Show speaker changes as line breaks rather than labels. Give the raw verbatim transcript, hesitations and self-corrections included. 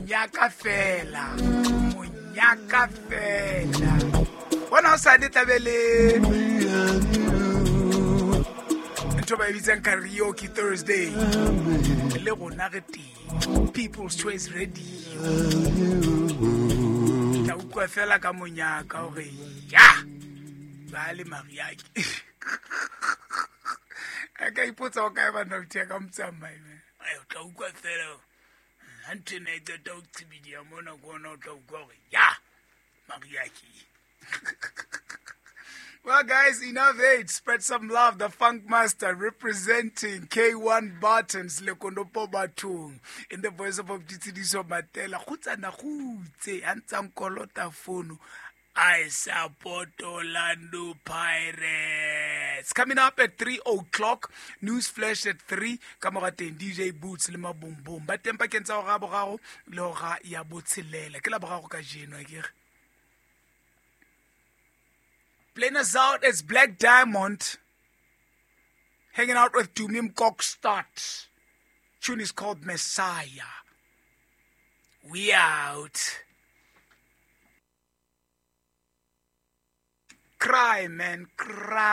Monyaka fela. Monyaka fela. Bona hosane tlabe le ntho ba e bitsang karaoke Thursday. Le rona re teng. People's Choice Radio. Tla utlwa fela ka monyaka hore ya ba le mariaki. A ka ipotsa o kae banna o tia ka motsamai. Ai o tla utlwa fela ha ntho ena e qeta ho qhibidiha mona ke ona o tla utlwa hore ya mariaki. Well, guys, enough hate. Spread some love. The Funk Master representing K one Buttons, Lekonopo Batung, in the voice of Tshediso Matela. Kgutsana kgutse, a ntsang kolota fono. I support Orlando Pirates. Coming up at three o'clock, news flash at three. Ka mora teng D J Boots le Mabombom. Ba teng pakeng tsa hora ya boraro le hora ya botshelela. Ke la boraro kajeno, akere? Playing us out is Black Diamond, hanging out with Tumim Kokstad. Tune is called Messiah. We out. Cry, man, cry.